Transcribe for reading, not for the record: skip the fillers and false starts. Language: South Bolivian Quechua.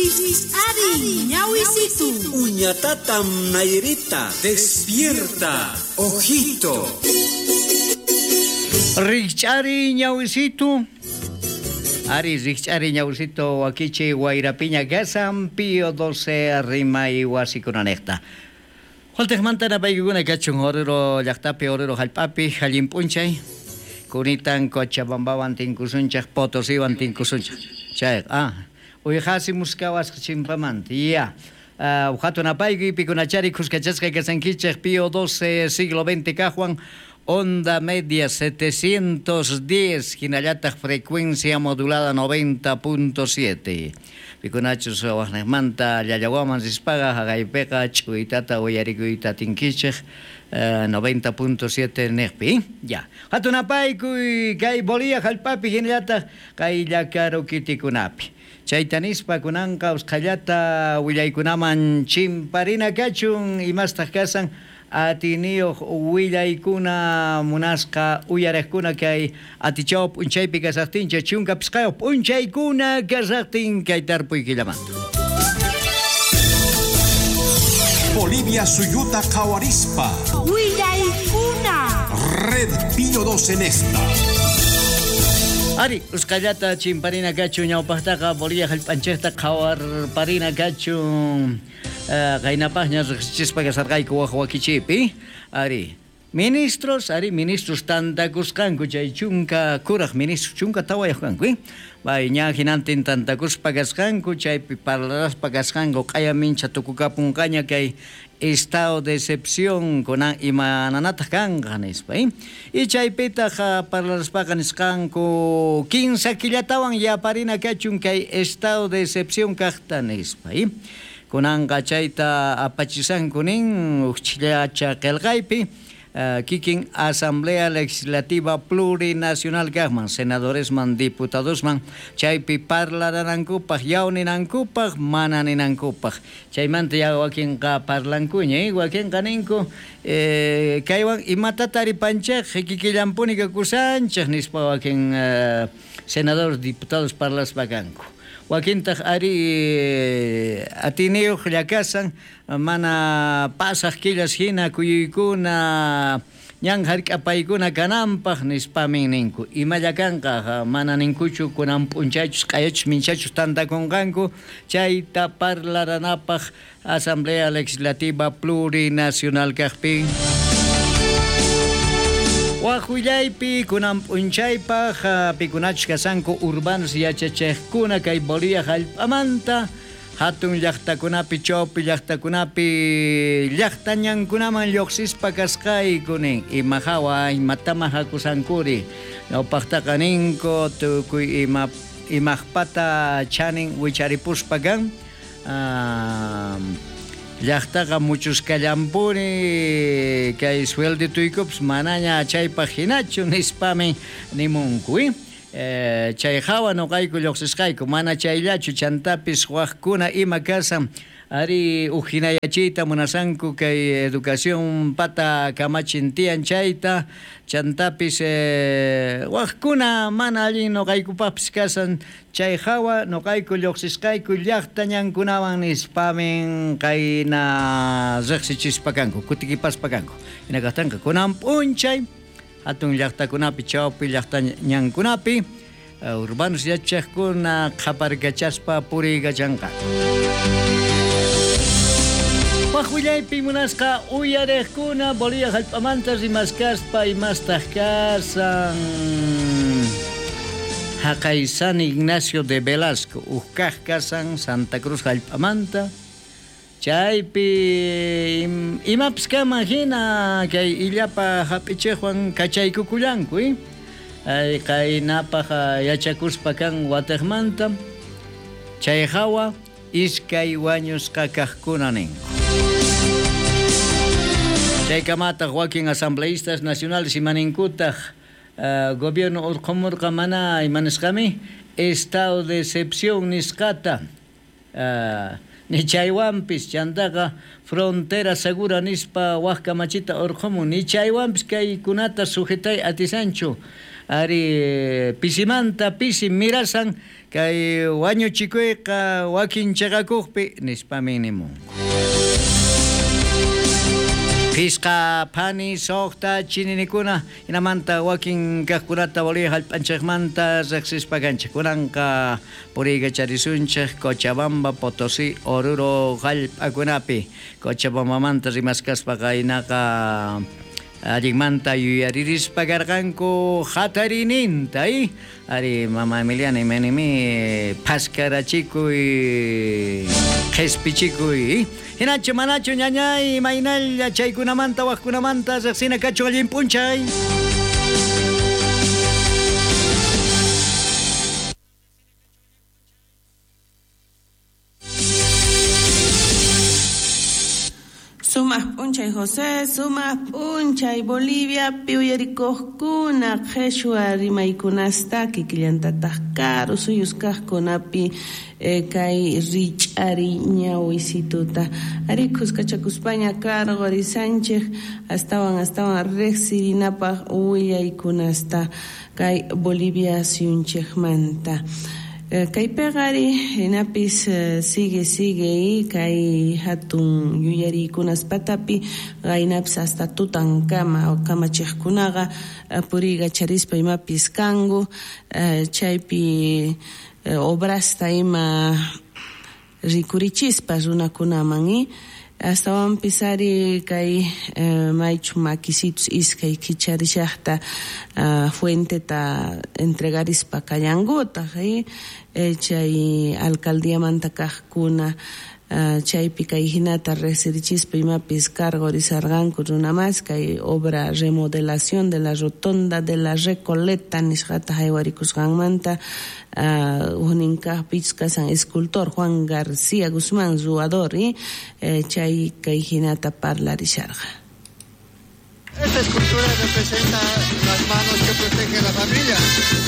Rikch'ariy ñawisitu. Uñatatam Nairita. Despierta, ojito. Rikch'ariy ñawisitu. Ari rikch'ariy ñawisitu wakichi wayrapiña kasan Pío 12 rimay wasikunanejta. Waltejmanta napaykikuna kachun Oruro llaqtapi, Oruro hallp'api, allin p'unchay. Kunitan Cochabambawan tinkusunchej, Potosiwan tinkusunchej. Chay, uyqasi muskawasqa chimpamanta. Ya. Hatun apaykuy pikunachari khuskachasqa kasankichej Pío 12 siglo XX kajwan onda media 710 hinallataq frecuencia modulada 90.7. Pikunachus waqnejmanta llallawaman rispaqa haqaypiqa ch'uytata uyarikuyta atinkichej 90.7 nejpi. Ya. Hatun apaykuy kay Bolivia hallp'api hinallataq kay llakaru kitikunapi. Chayta nispa kunanqa usqhallata willaykunaman chimparina kachun imastaq kasan atiniyuq willaykuna munasqa uyariqkuna kay atichaw p'unchaypi kasaqtinchik 15 p'unchaykuna kasaqtin kay tarpuy killamanta. Bolivia suyuta qhawarispa. Willaykuna. Red Pío 12 en esta. Ari, usqhallata chimparina kachun ñawpaqtaqa Bolivia hallp'anchikta qhawarparina kachun. Qaynapaqña riqsichispa kasarqayku waj wakichipi. Ari, ministros, ari, ministros tantakusqanku chay chunka kuraq ministros chunka tawayuq kanku, Bay ña hinantin tantakuspa kasqanku chaypi parlaraspa kasqanku q'aya mincha tukukapunqaña kay estado de excepción kunan imananataq kanqa nispa, Y chaypitaq parlaraspaqa nisqanku 15 killatawan yaparina kachun kay estado de excepción kaqta nispa, Kunanqa chayta apachisanku nin uqchillacha qillqaypi kikin Asamblea Legislativa Plurinacional kaqman, senadoresman, diputadosman chaypi parlaranankupaq, yawninankupaq, mana ninankupaq. Chaymanta ya wakinqa parlankuña, wakinqa ninku kaywan imatata taripanchej kikillanpuni kakusanchej nispa wakin senadores, diputados parlaspa kanku. Wakintaq ari atiniyuq llakasan mana pasaq killas hina kuyuykuna ñan hark'apaykuna kananpaq nispamin ninku. Imalla kanqa mana ninkuchu kunan p'unchaychus q'ayachus minchachus tantakunqanku chayta parlaranapaq Asamblea Legislativa Plurinacional kaqpi. Wajullaypi kunan p'unchaypaq pikunachus kasanku urbanos yachachejkuna kay Bolivia hallp'amanta hatun llaqtakunapi chawpi llaqtakunapi llaqtañankunaman lluqsispa kasqayku nin ima hawa imatama hakusankuri ñawpaqtaqa ninku tukuy imaqpata chanin wicharipuspa kan llaqtaqa muchuskallanpuni kay sueldituykupas manaña chaypaq hinachu nispamin nimunku. Chay hawa nuqayku lluqsisqayku mana chayllachu chantapis waqkuna ima kasan ari uqhinayachiyta munasanku kay educación pata kamachin tiyan chayta chantapis waqkuna mana allin nuqaykupaqpis kasan chay hawa nuqayku lluqsisqayku llaqtañankunawan nispamin qayna riqsichispa kanku kutikipaspa kanku hina kaqtanqa kunan p'unchay hatun llaqtakunapi chawpi llaqtañankunapi urbanos yachaqkuna qhaparkachaspa puriykachanqa. Wajullaypi munasqa uyariqkuna Bolivia hallp'amanta rimaskaspa imastaq kasan haqay San Ignacio de Velasco uqkaq kasan Santa Cruz hallp'amanta chaypi imapis kaman hina kay illapa hap'ichiqwan kachaykukullanku ay qaynapaq yachakuspa kan wataqmanta chay hawa iskay wañusqa kaqkuna ninku. Chaykamataq wakin asambleístas nacionales imaninkutaq gobierno urqumurqa mana imanisqami estado de excepción nisqata ni chaywanpis chantaqa frontera segura nispa waj kamachita urqumun ni chaywanpis kaykunata sujetay atisanchu ari pisimanta pisi mirasan Kay wañuchikuyqa wakin chiqakuqpi nispami nimunku. Pisqa phani suqta chininikuna hinamanta wakin kaqkunata Bolivia hallp'anchikmanta riqsispa kanchik. Kunanqa puriykacharisunchik Cochabamba, Potosí, Oruro hallp'akunapi. Cochabambamanta rimaskaspa qaynaqa allinmanta yuyaririspa karqanku hatarininta, Ari mama Emiliana imanimi phaskarachikuy qhispichikuy. Hinachu manachu ñañay imaynalla chaykunamanta waqkunamanta riqsina kachun allin p'unchay. Sumaq p'unchay José, sumaq p'unchay Bolivia, uyarikuqkuna qheshwa rimaykunasta kikillantataq karu suyus kaqkunapi kay rich'ari ñawisituta. Ari khuskachakuspaña karqurisanchik astawan astawan riqsirinapaq willaykunasta kay Bolivia suyunchikmanta. Kaypiqa ari hinapis sigue sigue kay hatun yuyariykunaspatapi qaynapis hasta tutankama kamachiqkunaqa puriykacharispa imapis kanku chaypi obrasta ima rikurichispa runakunaman astawanpis ari kay maychu makisitus iskay kicharishaqta fuenteta entregarispa kallankutaq chay alcaldiamanta kaqkuna chaypi kay hinata riqsirichispa imapis cargorisarqanku runamas kay obra remodelación de la rotonda de la Recoleta nisqata haywarikusqanmanta huknin kaqpichus kasan escultor Juan García Guzmán ruwador chay kay hinata parlarisharqa. Esta escultura representa las manos que protegen la familia.